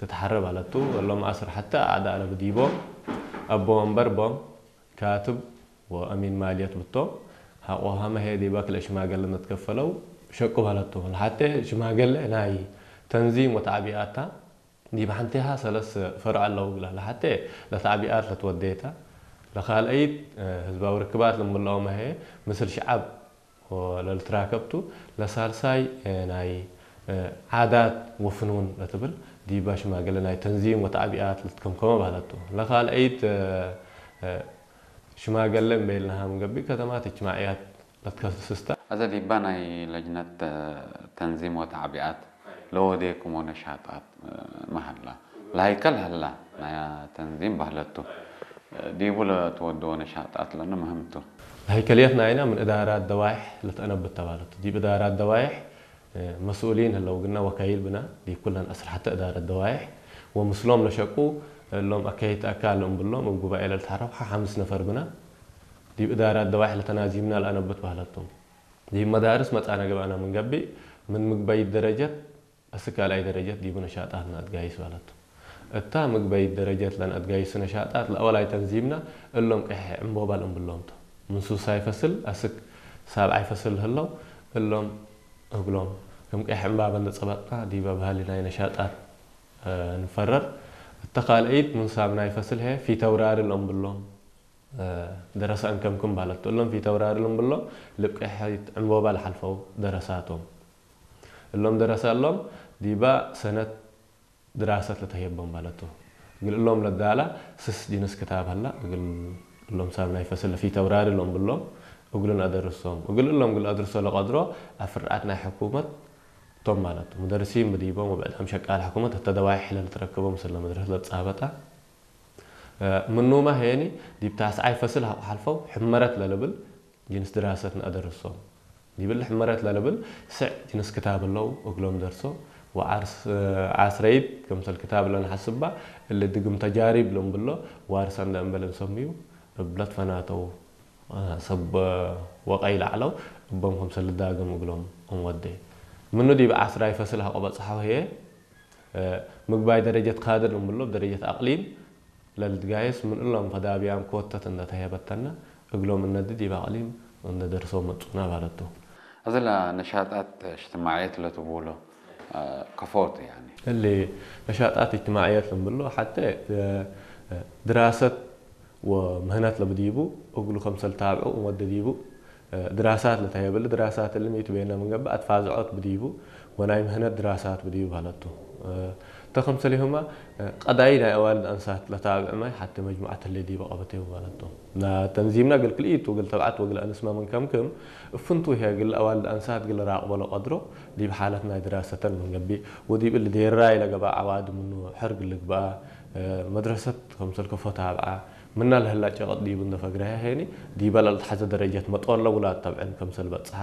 እትሓረ ባለቱ እሎም ኣስር ሓተ ኣዕዳ ለብዲቦ ኣቦ ወንበር ቦም ካትብ ወአሚን ማልየት ብቶም ሐቆ ሀመሄ ዲባ ክለ ሽማገለ ነትከፈለው ሸቁ ባለቱ። ለሓተ ሽማገለ ናይ ተንዚም ወተዕቢኣታ ዲብ ሓንቲሃ ሰለስ ፈርዕ ኣለው። ለሓተ ለተዕቢኣት ለትወደየታ፣ ለኻልአይት ህዝባዊ ርክባት ለምልኦ መሄ ምስል ሽዓብ ለልትራከብቱ፣ ለሳልሳይ ናይ ዓዳት ወፍኑን ለትብል ዲባ ሽማገለ ናይ ተንዚም ወተዕቢኣት ለትከምከመ ባህለቱ። ለኻልአይት ሽማገለ እምበይልናሃ ምንገቢ ከተማት እጅማዕያት ለትከስስታ። ኣዘ ዲባ ናይ ለጅነት ተንዚም ወተዕቢኣት ለወዴኩሞ ነሻጣት መሃላ ለሃይከል ሀላ ናይ ተንዚም ባህለቱ ዲቡ ለትወደዎ ነሻጣት ለነ ምህምቱ። ለሃይከልየት ናይና ምን እዳራት ደዋይሕ ለተአነብት ተባለቱ። ዲብ እዳራት ደዋይሕ መስኡሊን ህለው ግና ወካይል ብና ዲብ ኩለን አስራሕተ እዳረት ደዋይሕ ወምስሎም ለሸቁ እሎም አካይት አካል እምብሎም እብ ጉባኤ ለልትሐረፍ ሓምስ ነፈር ብና ዲብ እዳራት ደዋይሕ ለተናዚምና ለአነብት ባህለቶም። ዲብ መዳርስ መጻነ ገብአና ምንገቢእ ምን ምግበይት ደረጀት እስክ ካልኣይ ደረጀት ዲቡ ነሻጣትና አትጋይስ ባለቱ። እታ ምግበይት ደረጀት ለንአትጋይሱ ነሻጣት ለአወላይ ተንዚምና እሎም ቅሕ ዕምቦባል እምብሎምቶ። ምን ሱሳይ ፈስል አስክ ሳብዓይ ፈስል ህለው እሎም እግሎም ከም ቅሕ ዕምባበ እንደ ጸበጥና ዲበ ባህሊ ናይ ነሻጣት ንፈረር። እተ ካልአይት ምን ሳብናይ ፈስል ሄ ፊተውራሪ ለእምብሎም ደረሳ እንከምክም ባለቱ። እሎም ፊተውራሪ ለእምብሎም ልብ ቅሕ ዕምቦባ ለሓልፈው ደረሳቶም። እሎም ደረሳ እሎም ዲባ ሰነት ድራሰት ለተህየቦም ባለቱ። እግል እሎም ለዳላ ስስ ጅንስ ክታብ ሀላ እግል እሎም ሳብ ናይ ፈስል ፊተውራሪ እሎም ብሎም እግሉን አደርሶም። እግል እሎም እግል አድርሶ ለቀድሮ አፍርዓት ናይ ሕኩመት ቶም ማለቱ። ሙደርሲን ብዲቦም ወብዕዳም ሸቃል ሕኩመት እተደዋይ ሕለ ልትረክቦም ስለ መድረስ ለጻበጣ ምኑማ ሄኒ ዲብ ታስዓይ ፈስል ሀቁ ሓልፈው ሕመረት ለልብል ጅንስ ድራሰት ንአደርሶም። ዲብል ሕመረት ለልብል ስዕ ጅንስ ክታብ እለው እግሎም ደርሶ ወዓስረይት ከምሰል ክታብ ለንሐስባ እሊ ድግም ተጃሪብ ለምብሎ ዋርሳ እንደ እንበል እንሰምዩ እብለት ፈናተው ሰብ ወቀይ ላዕለው እቦም ከምሰል ዳግም እግሎም እንወደ። ምኑ ዲብ ዓስራይ ፈስል ሀቆ በጽሐው ህየ ምግባይ ደረጀት ካድር ለምብሎ ደረጀት አቅሊም ለልትጋየስ ምን እሎም ፈዳብያም ኮተት እንደ ተሄበተና እግሎም እነዲ ዲብ አቅሊም እንደ ደርሶ መጹና ባለቱ። እዝላ ነሻጣት እጅትማዕየት ለትብሎ ከፎት ያኒ። እሊ ነሻጣት እጅትማዕየት ለምብሎ ሐተ ድራሰት ወምህነት ለብዲቡ እግሉ ከምሰል ታብዑ ወደ ዲቡ ድራሳት ለተሄበል ድራሳት እሊ ሚቱ ቤና ምንገባ አትፋዝዖት ብዲቡ ወናይ ምህነት ድራሳት ብዲቡ ባለቱ። ተኸምሰሊሁማ ቀዳይ ናይ ኣዋልድ ኣንሳት ለታብዕ ማይ ሓቲ መጅሙዓት ህሌ ዲበ ቀበቴው ማለቶም። ና ተንዚምና ግል ክልኢት ወግል ተብዓት ወግል ኣንስማ ምን ከምክም እፍንቱ ይሄ ግል ኣዋልድ ኣንሳት ግል ራቅቦ ለቀድሮ ዲብ ሓለት ናይ ድራሰተን ምን ገቢ ወዲብ እል ዴራይ ለገባ ዓዋድ ምኑ ሕር ግል ግባ መድረሰት ከምሰል ከፎ ታብዓ ምና ለህላ ጨቀጥ ዲቡ እንደ ፈግረሃ ሄኒ ዲበ ለልትሓዘ ደረጀት መጦለ ውላድ ተብዕን ከምሰል በጽሓ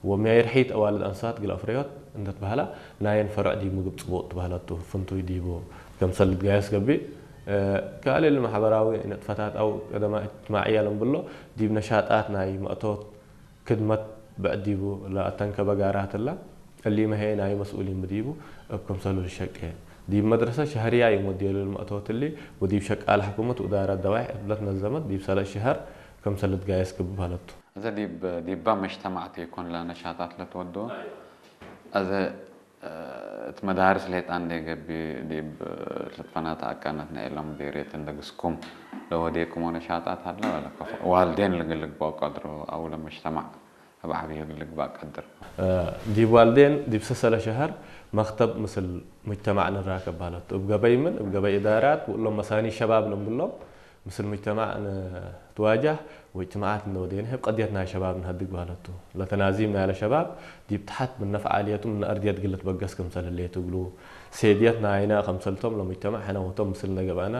ወሚያይ ርሒት ኣዋልድ ኣንሳት ግል ኣፍረዮት እንደትበሃላ ናየን ፈርዕ ዲብ ምግብ ጽቡቅ ትበሃለቱ ፍንቱይ ዲቡ ከምሰል ልትጋየስ ገቢእ። ካልእ ማሕበራዊ ንጥፈታት ኣው ቀደማ እጅትማዕያ ለንብሎ ዲብ ነሻጣት ናይ መእቶት ክድመት ብዕዲቡ ለኣተንከበ ጋራትላ እሊ መሄ ናይ መስኡሊን ብዲቡ እብ ከምሰሉ ልሸቄ ዲብ መድረሰ ሸህርያ ይሞዴሉ ልመእቶት እሊ ወዲብ ሸቃል ሕኩመት ውዳራት ደዋይሕ እብለት ነዘመት ዲብ ሰለስ ሸሀር ከምሰል ልትጋየስ ግብ በሃለቱ። እዘ ዲብ ዲባ መጅተማዕቲ ይኮን ለነሻጣት ለትወዶ። እዘ እት መዳርስ ሌጣ እንዴ ገቢ ዲብ ልትፈናተ አካነት ናይ ሎም ዴሬት እንደ ግስኩም ለወዴኩም ወነሻጣት ሀለ ወለ ከፎ ዋልዴን ልግልግባው ቀድሮ አው ለመጅተማዕ እብ ዓብዮ ልግባእ ቀድር። ዲብ ዋልዴን ዲብ ሰሰለ ሸሀር መክተብ ምስል ሙጅተማዕ ንራከብ በሃለቱ። እብ ገበይ ምን እብ ገበይ እዳራት ውእሎም መሳኒ ሸባብ ለንብሎም ምስል ሙጅተማዕ ንትዋጃህ ወእጅትማዓት እንደ ወዴነ ህብ ቀድየት ናይ ሸባብ ንሀድግ በሃለቱ። ለተናዚም ናይለ ሸባብ ዲብ ተሐት ምነ ፈዓልየቱ ምነ አርድየት ግል ልትበገስ ክምሰል ህሌቱ እግሉ ሴድየት ናይነ ከምሰልቶም ለሙጅተማዕ ሕነ ወቶም ምስል እንደ ገብአና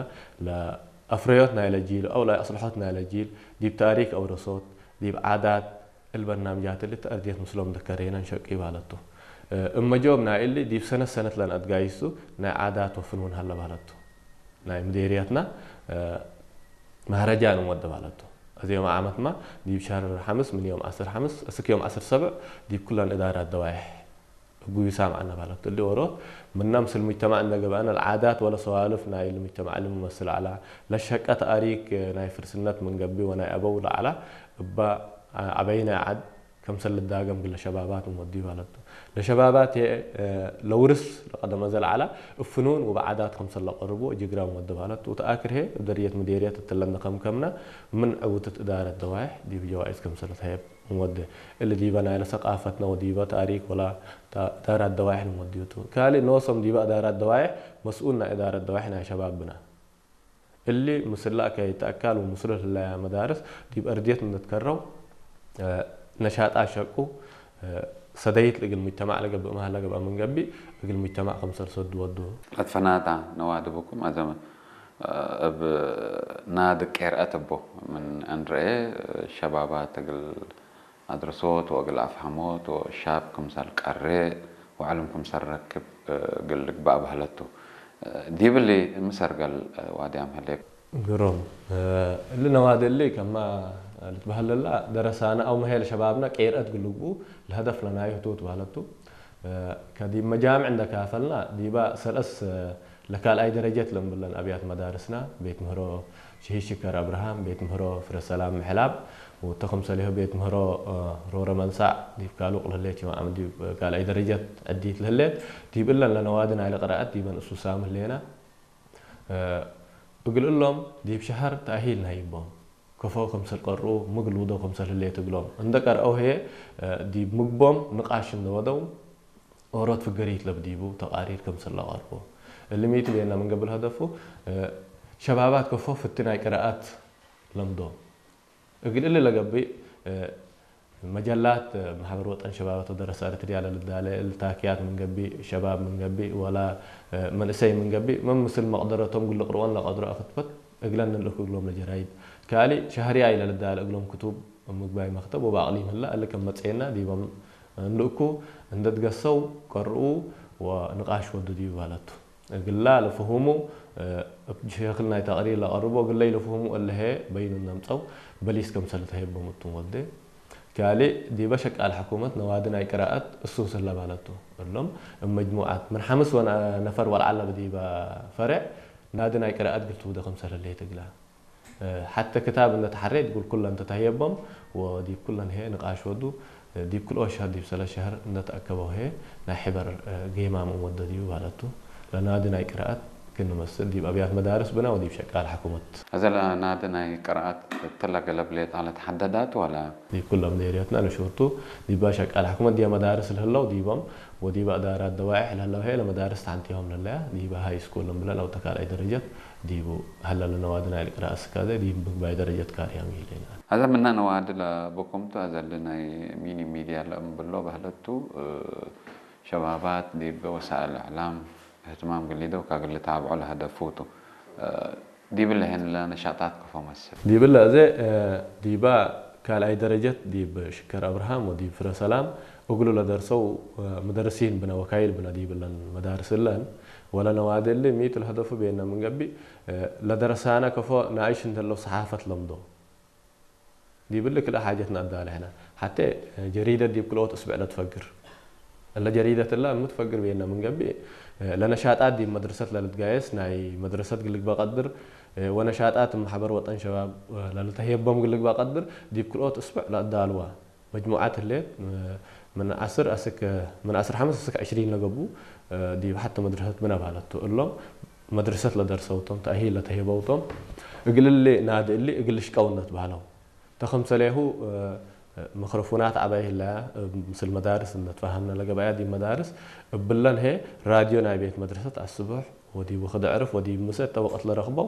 ለአፍረዮት ናይለ ጂል አው ለአስልሖት ናይለ ጂል ዲብ ታሪክ አውረሶት ዲብ ዓዳት እሊ በርናምጃት እሊ ተአርድየት ምስሎም ደከሬና እንሸቂ ባለቱ። እመ ጆብ ናይ እሊ ዲብ ሰነት ሰነት ለንአትጋይሱ ናይ ዓዳት ወፍን እውን ሀለ ባለቱ። ናይ ምዴርየትና መህረጃ ንወደ ባለቱ። እዚ ዮም ዓመትማ ዲብ ሸህር ሐምስ ምን ዮም ዐስር ሐምስ እስክ ዮም ዐስር ሰብዕ ዲብ ኩለን እዳራት ደዋይሕ ጉዩ ሳምዓና ባለቱ እሊ ወሮት ምናም ስል ሙጅተማዕ እንደገባና ለዓዳት ወለ ሰዋልፍ ናይ ልሙጅተማዕ ልምመስል ዓላ ለሸቀ ተኣሪክ ናይ ፍርስነት ምንገቢ ወናይ ኣበው ለዓላ እባ ዓበይ ናይ ዓድ ከምሰል ልዳገም ግለ ሸባባት ምወዲ ባለቱ ለሸባባት ለውርስ ለቀደመ ዘልዓላ እፍኑን ወበዓዳት ከምሰል ለቀርቦ ጅግራ ምወዲ ባለቱ ተኣክርሄ ደርየት ምዴርየት እትለንደ ከምከምና ምን ዕውትት እዳረት ደዋይሕ ዲብ ጀዋይዝ ከምሰል ተሄብ ወደ እሊ ዲበ ናይለ ሰቃፈትና ወዲበ ታሪክ ወላ እዳራት ደዋይሕ ንወዲዩቱ ካሊ ኖሶም ዲበ እዳራት ደዋይሕ መስኡል ናይ እዳረት ደዋይሕ ናይ ሸባብና እሊ ምስላ ከይተኣካል ወምስሉ ህላያ መዳርስ ዲብ እርድየት እንደትከረው ነሻጣ ሸቁ ሰደይት እግል ሙጅተማዕ ለገብእ መሃላ ገብኣ ምንገቢ እግል ሙጅተማዕ ከምሰል ሰዱ ወዱ ለትፈናታ ነዋድብኩም ኣዘመ እብ ናድ ቄርአት እቦ ምን እንርኤ ሸባባት እግል ኣድርሶት ወእግል ኣፍሃሞት ወሻብ ክምሰል ቀሬእ ወዕልም ክምሰል ረክብ እግል ልግባእ በህለቱ። ዲብሊ ምሰርገል ዋድያም ህሌ። ግሮም እሊ ነዋዲ እሊ ከማ ልትበህለላ ደረሳና ኣው መሄል ሸባብና ቄርአት ግልግቡ ለሀደፍ ለናዩ ህቱ ትበህለቱ ከዲብ መጃምዕ እንደካፈልና ዲባ ሰለስ ለካልኣይ ደረጀት ለምብለን ኣብያት መዳርስና ቤት ምህሮ ሽሂድ ሽከር ኣብርሃም፣ ቤት ምህሮ ፍረ ሰላም ምሕላብ፣ ወተኸምሰሊሆ ቤት ምህሮ ሮረ መንሳዕ ዲብ ካሉቅ ለህሌት ዮም ዓም ዲብ ካልኣይ ደረጀት ዕዲት ለህሌት ዲብ እለን ለነዋዲ ናይለ ቅራኣት ዲበን እሱ ሳም ህሌና። እግል እሎም ዲብ ሸሀር ተኣሂል ናይቦም ከፎ ከምሰል ቀርኡ ምግል ውዶ ከምሰል ህሌት እግሎም እንደ ቀርአው ህየ ዲብ ምግቦም ንቃሽ እንደወደው ኦሮት ፍገሪት ለብዲቡ ተቃሪር ከምሰል ለቀርቦ እልሚቱ ቤና ምንገብር ሀደፉ ሸባባት ከፎ ፍቲ ናይ ቅራኣት ለምዶ እግል እሊ ለገብእ መጀላት ማሕበር ወጠን ሸባባት ወደረሳ እርትርያ ለልዳለ እልታክያት ምንገቢ ሸባብ ምንገቢ ወላ መንእሰይ ምንገቢ መምስል መቅደረቶም ግልቅርወን ለቀድሮ ኣክትበት እግለን ንልእኩ እግሎም ለጀራይድ ካሊ ሸህርያ ኢለ ልዳለ እግሎም ክቱብ ምግባይ መክተብ ወባቅሊ ምህላ እሊ ከም መጽኤና ዲቦም እንልእኩ እንደትገሰው ቀርኡ ወንቃሽ ወዱ ዲቡ ባለቱ እግላ ለፍሁሙ እብ ሸክል ናይ ተቅሪር ለቀርቦ እግለይ ለፍሁሙ እለሄ በይኑ ነምጸው በሊስ ከምሰል ተሄቦም እቱም ወዴ ካሊ ዲበ ሸቃል ሕኩመት ነዋዲ ናይ ቅራኣት እሱ ስለ ባለቱ እሎም እብ መጅሙዓት ምን ሓምስ ወነ ነፈር ወልዓለ ብዲበ ፈሬዕ ናዲ ናይ ቅራኣት ግልቱ ውደ ከምሰል ህሌት እግላ ሓተ ክታብ እንተ ተሓሬ ዲብ ኩለን ተታህየቦም ወዲብ ኩለን ሄ ንቃሽ ወዱ ዲብ ክልኦ ሸህር ዲብ ሰለ ሸህር እንተ ተኣከበው ሄ ናይ ሕበር ጌማም ወደድዩ ባለቱ ለናዲ ናይ ቅራኣት ክንመስል ዲብ ኣብያት መዳርስ ብና ወዲብ ሸቃል ሓኩመት። እዘ ለናዲ ናይ ቅራኣት እትለ ገለብ ሌጣ ለተሓደዳት ወላ? ዲብ ኩሎም ዴርየትና ንሹርቱ ዲባ ሸቃል ሓኩመት ዲያ መዳርስ ልህለው ዲቦም ወዲባ እዳራት ደዋይሕ ለህለው ሄ ለመዳርስ ተሓንቲሆም ለለያ ዲባ ሃይ ስኩል እምብለን ኣው ተካልኣይ ደረጀት ዲቡ ሀለ ለነዋዲ ናይ ልቅራእ እስካዘ ዲብ ምግባይ ደረጀት ካርያም ይህሌና። ሀዘ ምና ነዋዲ ለበኩምቱ ሀዘ እሊ ናይ ሚኒ ሚድያ ለእምብሎ በህለቱ ሸባባት ዲብ ወሳእል እዕላም እህትማም ግሊደው ካግል ልታብዖ ለሀደፉቱ ዲብለ ሄን ለነሻጣት ከፎ መስል። ዲብለ እዘ ዲባ ካልኣይ ደረጀት ዲብ ሽከር ኣብርሃም ወዲብ ፍረ ሰላም እግሉ ለደርሰው መደርሲን ብነ ወካይል ብነ ዲብለን መዳርስ እለን ወለ ነዋዲ እሊ ሚት ለሀደፉ ቤነ ምንገቢ ለደረሳነ ከፎ ንኣይሽ እንተለው ሰሓፈት ለምዶ ዲብሊ ክልእ ሓጀት ነኣዳለ ሕነ። ሓቴ ጀሪደት ዲብ ክልኦት እስብዕ ለትፈግር። እለ ጀሪደት እላ ምትፈግር ቤነ ምንገቢ ለነሻጣት ዲብ መድረሰት ለልትጋየስ ናይ መድረሰት ግልግበ ቀድር ወነሻጣት ማሕበር ወጠን ሸባብ ለልተህየቦም ግልግበ ቀድር ዲብ ክልኦት እስብዕ ለኣዳልዋ። መጅሙዓት ህሌት ምን ዓስር ኣስክ ምን ዓስር ሓምስ ኣስክ ዕሽሪን ለገቡ ዲብ ሓተ መድረሰት ብነ ባለቱ እሎም መድረሰት ለደርሰውቶም ተኣሂል ለተሄበውቶም እግል እሊ ናዲ እሊ እግል ሽቀውነት ባህለው ተኸምሰሌሁ ምክርፉናት ዓባይ ህለያ ምስል መዳርስ እነትፋሃምና ለገባያ ዲብ መዳርስ እብለን ሄ ራድዮ ናይ ቤት መድረሰት ኣስቡሕ ወዲብ ውክድ ዕርፍ ወዲብ ምሰ ተወቀት ለረኽበው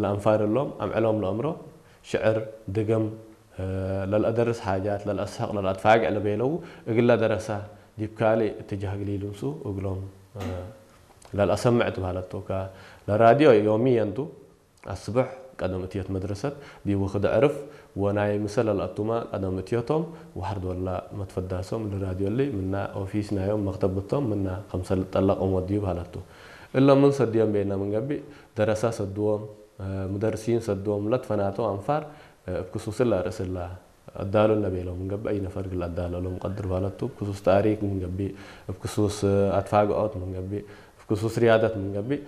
ለኣንፋር እሎም ኣምዕሎም ለእምሮ ሽዕር ድገም ለልአደርስ ሓጃት ለልአስሕቅ ለልአትፋግዕ ለቤለው እግለ ደረሳ ዲብ ካልእ እትጃህ ግሊሉንሱ እግሎም ለልአሰምዕ ትባለቶካ ለራድዮ ዮሚ የንቱ ኣስብሕ ቀደም እትየት መድረሰት ዲብ ውክድ ዕርፍ ወናይ ምሰ ለልአቱማ ቀደም እትየቶም ወሐርድ ወላ መትፈዳሶም ልራድዮ እሊ ምና ኦፊስ ናዮም መክተብ ብቶም ምና ከምሰ ልጠለቅም ወድዩ ባለቱ እሎም ምን ሰድዮም ቤና ምንገቢእ ደረሳ ሰድዎም ምደርሲን ሰድዎም ለትፈናተው ኣንፋር እብ ክሱስላ ርእስላ ኣዳሎ ለቤሎም ምንገብእ፣ ኣይነፈር ግል ኣዳሎ ሎም ቀድር ባለቱ፣ ክሱስ ታሪክ ምንገብእ፣ ክሱስ ኣትፋግኦት ምንገብእ፣ ክሱስ ሪያደት ምንገብእ፣